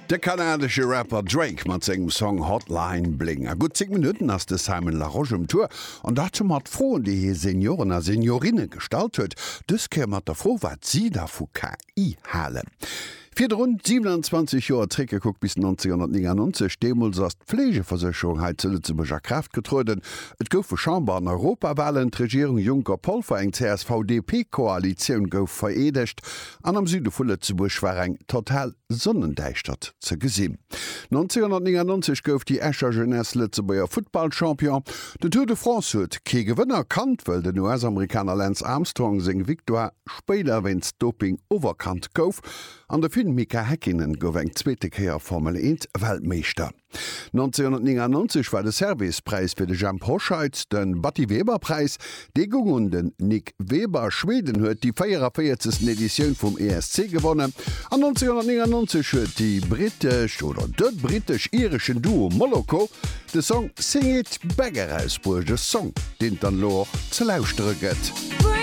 De kanadesche Rapper Drake mat sengem Song Hotline Bling. A gutt 10 Minutten ass de Simon Larosche um Tour an dat mat Froen, déi hie Senioren a Seniorinne gestallt huet. Dës Kéier mat der Fro, wat si da vu KI halen. Virdrun 27 Joer zréckgekuckt bis 1999, deemools ass d'Fleegeversécherung hei zu Lëtzebuerg a Kraaft getrueden. Et goufe Chamber an Europawalen, d'Regierung Juncker-Polfer, eng CSV-DP-Koalitioun gouf vereedegt an am Süde vu Lëtzebuerg war eng total Sonnendäischtert ze gesinn. 1999 gouf déi Escher Jeunesse Lëtzebuerger Futtballchampion. Den Tour de France huet kee Gewënner kannt, wëll den US-Amerikaner Lance Armstrong seng Victoire spéider wéinst Doping oferkannt gouf an de Finn Mika Häkkinen gouf eng zweete Kéier Formel 1 Weltmeeschter. 1999 war de Servais-Präis fir de Jhemp Hoscheit, de Batty-Weber-Präis, dee goung un den Nick Weber. Schweden huet déi 44. Editioun vum ESC gewonnen an 1999 huet déi brittesch oder de brittesch-ireschen Duo Moloko de Song Sing It Back erausbruecht, e Song, deen et dann elo och ze lauschtere gëtt.